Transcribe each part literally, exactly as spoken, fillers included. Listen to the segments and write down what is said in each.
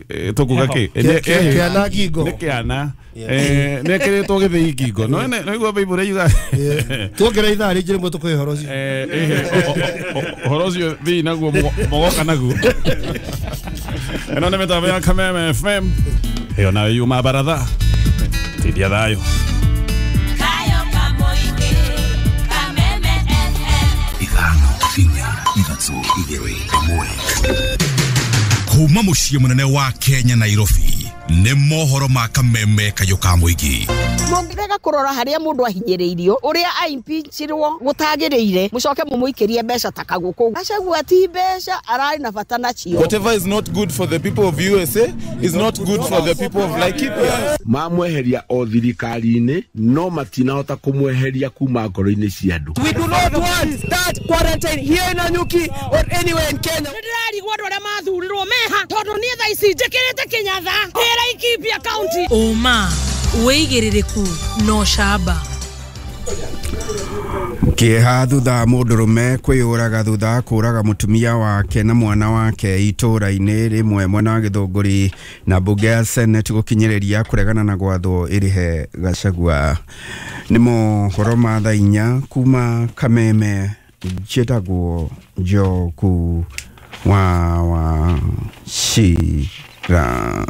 Tũkuga kĩ? Kĩana ngingo. Nĩ kĩana. Eh, nĩ ekĩrĩtwo gĩthĩi ngingo. No no igua Bible yuga. Tuongerera ithaa rĩngĩ rĩmwe tũkũhe ũhoro ũcio. Eh, ũhoro ũcio thii naguo mũgoka naguo. Ĩno nĩ mĩtambo ya Kameme F M. Ĩyo nayo yuma baratha. Tindia thayũ. Ithano inya ithatũ igĩrĩ ĩmwe. Kuma mũciĩ mũnene wa Kenya Nairobi nĩ mohoro ma Kameme kayũ ka mũingĩ. Mũngĩrega kũrora harĩa mũndũ ahinyĩrĩirio ũrĩa aimpeachirwo gũtagĩrĩire mũcoke mũmũikĩrie mbeca ta kagũkũ. Gachagua ti mbeca ararĩ na bata nacio. Whatever is not good for the people of U S A is not good for the people of Laikipia. Mamweheria o thirikari-inĩ no matinahota kũmweheria kuma ngoro-inĩ cia andũ. We do not want that quarantine here in Nanyuki or anywhere in Kenya. Nĩndĩrarigwo andũ arĩa mathurirwo meha tondũ niĩ thaa ici njĩkĩrĩte kĩnyatha ndĩ Laikipia County. Ũma wĩigĩrĩrĩku no camba. Kĩeha thutha mũndũrũme kwĩyũraga thutha kũraga mũtumia wake na mwana wake itũũra-inĩ rĩmwe mwena wa Gĩthũngũri na mbunge ya Senate gũkinyĩrĩria kũregana na gwathwo ĩrĩhe Gachagua. Nĩ mohoro ma thaa inya kuma Kameme. Njĩtagwo Njoku wa wa Cira.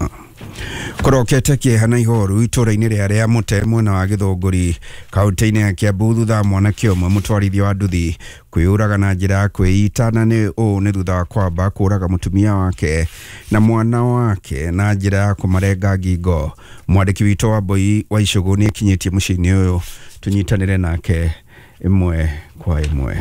Kũrokete kĩeha na ihoru itũũra-inĩ rĩa rĩa Mũte mwena wa Gĩthũngũri kaunti-inĩ ya Kiambu thutha mwanake ũmwe mũtwarithia wa nduthi kwĩyũraga na njĩra ya kwĩita na nĩ ũũ nĩ thutha wa kwamba kũraga mũtumia wake na mwana wake na njĩra ya kũmarenga ngingo. Mwandĩki witũ wa Mbui wa Icũgũ nĩ akinyĩtie mũciĩ-inĩ ũyũ, tũnyitanĩre nake ĩmwe kwa ĩmwe.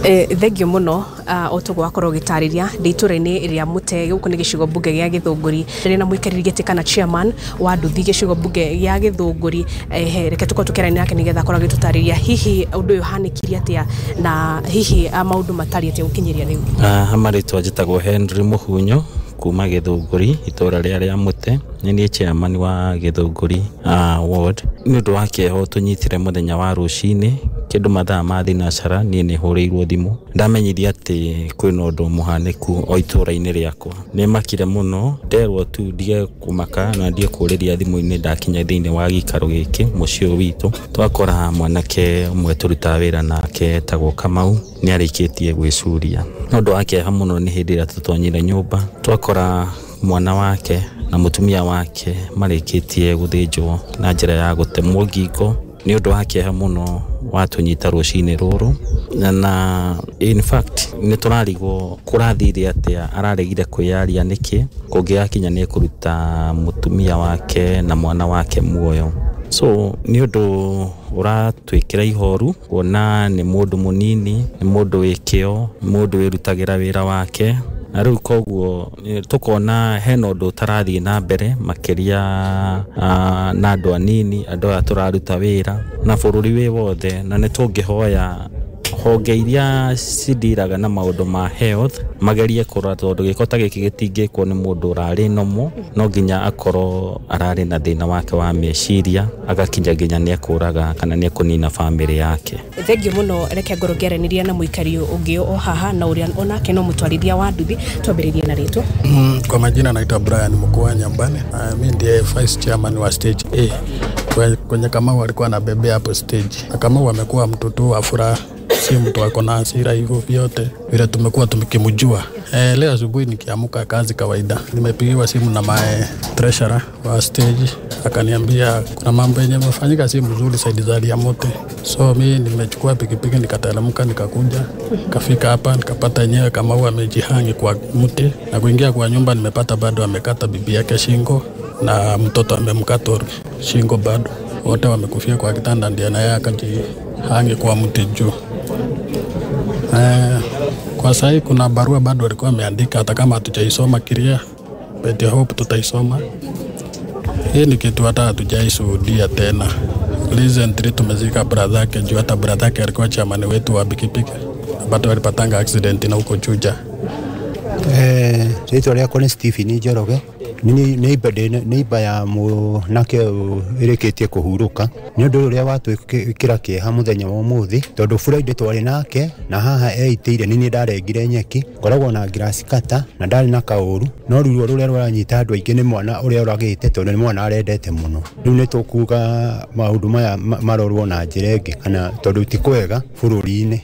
Eh, thengio muno o toguo wakorwo ũgĩtarĩria ndĩ itũũra-inĩ rĩa Mũte gũkũ nĩ gĩcigo mbunge gĩa Gĩthũngũri ndĩ na mũikarĩri gĩtĩ kana chairman wa nduthi gĩcigo mbunge gĩa Gĩthũngũri. Eh, reke tũkorwo tũkĩaranĩria nake nĩgetha akorwo agĩtũtarĩria hihi ũndũ ũyũ ũhanĩkire atĩa na hihi maũndũ matariĩ atĩa gũkinyĩria rĩu. Ha marĩtwa njĩtagwo Henry Mũhunyo kuma Gĩthũngũri itũũra rĩa rĩa Mũte. Nĩ niĩ chairman wa Gĩthũngũri uh, ward. Nĩ ũndũ wa kĩeha tũnyitire mũthenya wa rũcinĩ kĩndũ mathaa ma thinacara niĩ nĩ hũrĩirwo thimũ ndamenyithia atĩ kwĩna ũndũ mũhanĩku o itũũra-inĩ rĩakwa. Nĩ makire mũno nderwo tu ndige kũmaka na ndige kũrĩria thimũ-inĩ ndakinya thĩinĩ wa gĩikaro gĩkĩ mũciĩ ũyũ witũ. Twakora mwanake ũmwe tũrutaga wĩra nake etagwo Kamau nĩ arĩkĩtie gwĩcuria. Nĩ ũndũ wa kĩeha mũno nĩ hĩndĩ ĩrĩa tũtonyire nyũmba twakora mwana wake na mũtumia wake marĩkĩtie gũthĩnjwo na njĩra ya gũtemwo ngingo. Nĩ ũndũ wa kĩeha mũno watũnyita rũcinĩ rũrũ na in fact nĩ tũrarigwo kũrathire atĩa araregire kwĩyaria nĩkĩ kũngĩgakinya nĩ kũruta mũtumia wake na mwana wake muoyo. So nĩ ũndũ ũratwĩkĩra ihoru kuona nĩ mũndũ mũnini, nĩ mũndũ wĩ kĩo, mũndũ wĩrutagĩra wĩra wake na rĩu koguo tũkona hena ũndũ ũtarathiĩ na mbere makĩria na andũ anini andũ aya tũraruta wĩra na bũrũri wĩ wothe na nĩ tũngĩhoya honge iria cindiraga na maũndũ ma health magerie kũrora tondũ gĩko ta gĩkĩ gĩtingĩkwo nĩ mũndũ ũrarĩ nomo no nginya akorwo ararĩ na thĩna wake wa meciria agakinya nginya nĩ ekũraga kana nĩ ekũnina bamĩrĩ yake. Thengio mũno reke ngorwo ngĩaranĩria na mũikari ũngĩ o haha na ũrĩa onake no mũtwarithia wa nduthi. Twambĩrĩrie na rĩtwa. Mm, kwa majina naitwa Brian Mkua Nyambane. Uh, mimi ndiye vice chairman wa stage A. Kwenye Kamau alikuwa anabebea hapo stage. Kamau amekuwa mtoto wa furaha, si mtu ako na hasira hivyo vyote vile tumekuwa tumekimjua. Eh, leo asubuhi nikiamka kazi kawaida, nimepigiwa simu na my treasurer wa stage akaniambia kuna mambo yenye yamefanyika si mzuri side za Liamote. So mimi nimechukua pikipiki nikateremka nikakuja kafika hapa nikapata yenyewe Kamau amejihangi kwa mti na kuingia kwa nyumba nimepata bado amekata bibi yake shingo na mtoto amemkata shingo bado. Wote wamekufia kwa kitanda ndiye naye akajihangi kwa mti juu. Eh, kwa sahi kuna barua bado walikuwa wameandika hata kama hatujaisoma kiria, but I hope tutaisoma. Hii ni kitu hata hatujaishuhudia tena. Recently tumezika brother yake juu hata brother yake alikuwa chairman wetu wa pikipiki. Bado walipatanga accident na huko Juja. Eh, rĩtwa rĩakwa nĩ Stephen Njoroge. Neighbor ya mwanake ĩrĩkĩtie kũhurũka nĩ ũndũ ũrĩa watwĩkĩra kĩeha mũthenya wa ũmũthĩ tondũ Friday twarĩ nake na haha eitĩire nĩ niĩ ndarengire nyeki ngoragwo na grass cutter na ndarĩ na kaũru no ruo rũrĩa rũranyita andũ aingĩ nĩ mwana ũrĩa ũragĩte tondũ nĩ mwana arendete mũno. Rĩu nĩ tũkuga maũndũ maya marorwo na njĩra ĩngĩ kana tondũ ti kwega bũrũri-inĩ.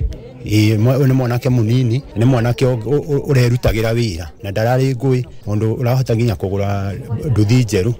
Ĩĩ nĩ mwanake mũnini nĩ mwanake ũrerutagĩra wĩra na ndararĩ ngũĩ mũndũ ũrahota nginya kũgũra nduthi njerũ.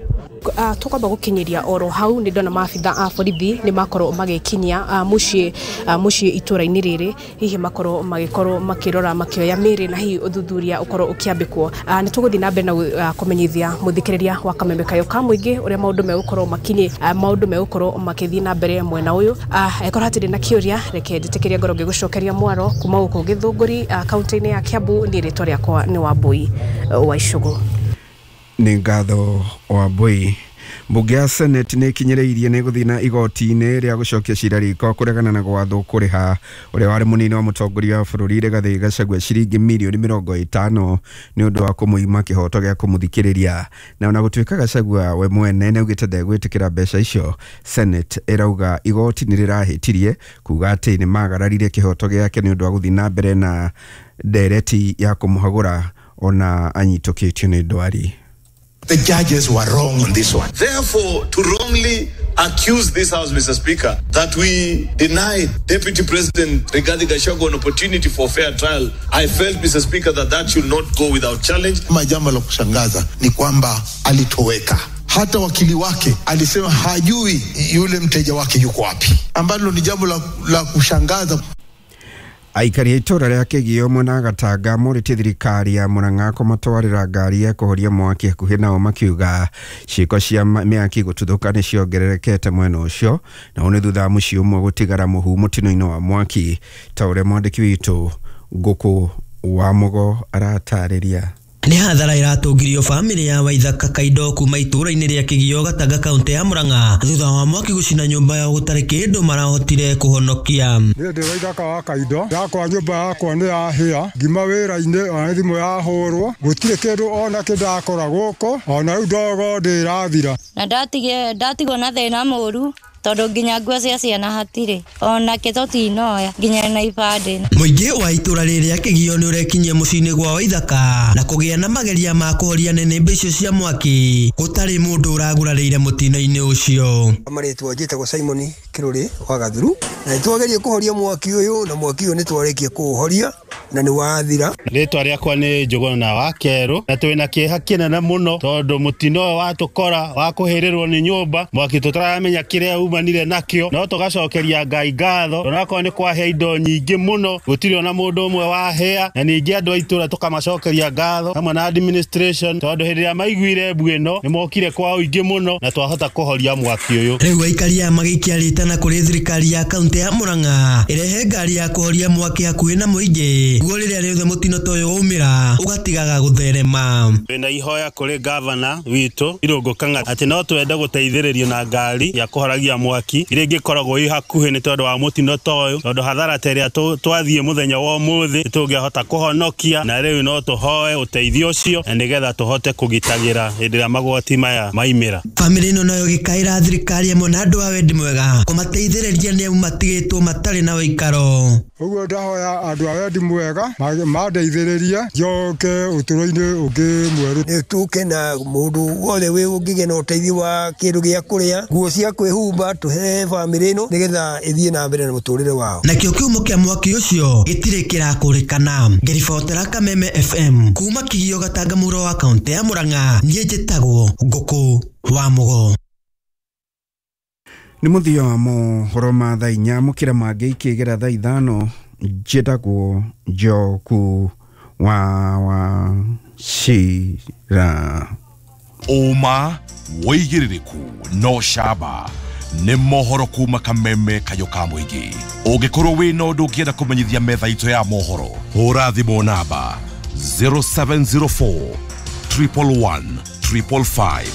Uh, tukwamba gukinyiria oro hau ni ndona maabitha a borithi ni makorwo magikinyia uh, muciĩ uh, muciĩ itũra-inĩ rĩrĩ hihi makorwo magikorwo makirora makioya mĩrĩ na hihi ũthuthuria ũkorwo ũkĩambĩkwo. uh, nĩ tũgũthiĩ na mbere na uh, kũmenyithia mũthikĩrĩria wa Kameme Kayo ka mũingĩ ũrĩa maũndũ megũkorwo makinyi uh, maũndũ megũkorwo makĩthiĩ na mbere mwena ũyũ. uh, Ĩkorwo hatirĩ na kĩũria reke njĩtĩkĩrie ngorwo ngĩgũcokeria mwaro kuma gũkũ Gĩthũngũri uh, kaunti-inĩ ya Kiambu. Niĩ rĩtwa rĩakwa nĩ Wambui uh, wa Icũgũ. Nĩ ngatho Wambui. Mbunge ya Senate nĩ ĩkinyĩrĩirie nĩ gũthiĩ na igoti-inĩ rĩa gũcokia cira riko kũregana na gwathwo kũrĩha ũrĩa warĩ mũnini wa mũtongoria wa bũrũri Rigathĩ Gachagua ciringi mirioni mĩrongo ĩtano nĩ ũndũ wa kũmũima kĩhoto gĩa kũmũthikĩrĩria. Na ona gũtuĩka Gachagua we mwene nĩ augĩte ndegwĩtĩkĩra mbeca icio, Senate ĩrauga igoti nĩ rĩrahĩtirie kuga atĩ nĩ magararire kĩhoto gĩake nĩ ũndũ wa gũthiĩ na mbere na ndereti ya kũmũhagũra ona anyitũkĩtio nĩ ndwari. The judges were wrong on this one. Therefore, to wrongly accuse this House, Mister Speaker, that we denied Deputy President Rigathi Gachagua an opportunity for fair trial, I felt, Mister Speaker, that that should not go without challenge. Jambo la kushangaza ni kwamba alitoweka. Hata wakili wake alisema hajui yule mteja wake yuko wapi, ambalo ni jambo la, la kushangaza. Aikari a itũra rĩa Kĩgio mwena Gatanga morĩtie thirikari ya Murang'a kũmatwarĩra ngari ya kũhoria mwaki hakuhĩ nao makiuga ciĩko cia mĩaki gũtuthũka nĩ ciongererekete mwena ũcio na ũũ nĩ thutha wa mũciĩ ũmwe gũtigara mũhu mũtino-inĩ wa mwaki ta ũrĩa mwandĩki witũ Ngũkũ wa Mũgo aratarĩria. Nĩ hathara ĩratũngirio bamĩrĩ ya Waithaka Kaindo kuma itũra-inĩ rĩa Kĩgio Gatanga kaunti ya Murang'a thutha wa mwaki gũcina nyũmba yao gũtarĩ kĩndũ marahotire kũhonokia. Niĩ ndĩ Waithaka wa Kaindo, yakwa nyũmba yakwa nĩ yahĩa ngima wĩra-inĩ ona thimũ yahũrwo gũtirĩ kĩndũ ona kĩ ndakora gũkũ ona rĩu ndogo ndĩrathira. Na ndatigwo na thĩna mũru tondu nginya nguo cia ciana hatirĩ ona kĩ tũtinoya nginya na ibandĩ. Mũingĩ wa itũra rĩrĩa Kĩgio nĩ ũrekinyia mũciĩ-inĩ gwa Waithaka na kũgĩa na mageria ma kũhoria nĩnĩmbĩ icio cia mwaki gũtarĩ mũndũ ũragurarĩire mũtino-inĩ ũcio. Marĩtwa njĩtagwo Simon Kĩrũrĩ wa Gathuru na nĩtwageria kũhoria mwaki ũyũ na mwaki ũyũ nĩtwarĩkia kũũhoria na nĩ wathira. Rĩtwa rĩakwa nĩ Njũgũna wa Kerũ na twĩna kĩeha kĩnene mũno tondũ mũtino ũyũ watũkora wa kũhĩrĩrwo nĩ nyũmba mwaki tũtaramenya kĩrĩa umanire nakĩo no tũgacokeria Ngai ngatho onakorwo nĩ kwahĩa indo nyingĩ mũno gũtirĩ ona mũndũ ũmwe wahĩa na ningĩ andũ a itũra tũkamacokeria ngatho hamwe na administration tondũ hĩndĩ ĩrĩa maiguire mbu ĩno nĩ mokire kwa ũingĩ mũno na twahota kũhoria mwaki ũyũ. Rĩu aikari aya magĩikia rĩtana kũrĩ thirikari ya kaunti ya Murang'a ĩrehe ngari ya kũhoria mwaki hakuhĩ na mũingĩ guo rĩrĩa rĩothe mũtino ta ũyũ waumĩra ũgatigaga gũtherema. Twĩna ihoya kũrĩ gavana witũ Irũngũ Kang'ata atĩ no twende gũteithĩrĩrio na ngari ya kũhoragia mwaki iria ingĩkoragwo ĩ hakuhĩ nĩ tondũ wa mũtino ta ũyũ tondũ hathara ta ĩrĩa twathiĩ mũthenya wa ũmũthĩ nĩtũngĩahota kũhonokia na rĩu no tũhoe ũteithio ũcio na nĩgetha tũhote kũgitagĩra hĩndĩ ĩrĩa magwati maya maimĩra. Bamĩrĩ ĩno nayo ĩgĩkaĩra thirikari ĩmwe na andũ a wendi mwega kũmateithĩrĩria nĩ amu matigĩtwo matarĩ na ũikaro. Ũguo ndahoya andũ a wendi mwega mandeithĩrĩrie njoke ũtũũro-inĩ ũngĩ mwerũ. Nĩ tũke na mũndũ wothe wĩ ũngĩgĩa na ũteithio wa kĩndũ gĩa kũrĩa nguo cia kwĩhumba tũhe bamĩrĩ ĩno nĩgetha ĩthiĩ na mbere na mũtũrĩre wao. Nakĩo kĩhumo kĩa mwaki ũcio gĩtirĩ kĩrakũrĩkana. Ngĩribotera Kameme F M kuma Kĩgio Gatanga mũhuro wa kaunti ya Murang'a, niĩ njĩtagwo Ngũkũ wa Mũgo. Nĩ mũthia wa mohoro ma thaa inya mũkĩra mangĩ ikĩgera thaa ithano njĩtagwo Njoku wa wa Cira. Ũma wĩigĩrĩrĩku no camba nĩ mohoro kuma Kameme Kayo ka mũingĩ. Ũngĩkorwo wĩna ũndũ ũngĩenda kũmenyithia metha itũ ya mohoro, hũra thimũ namba zero seven zero four triple one triple five.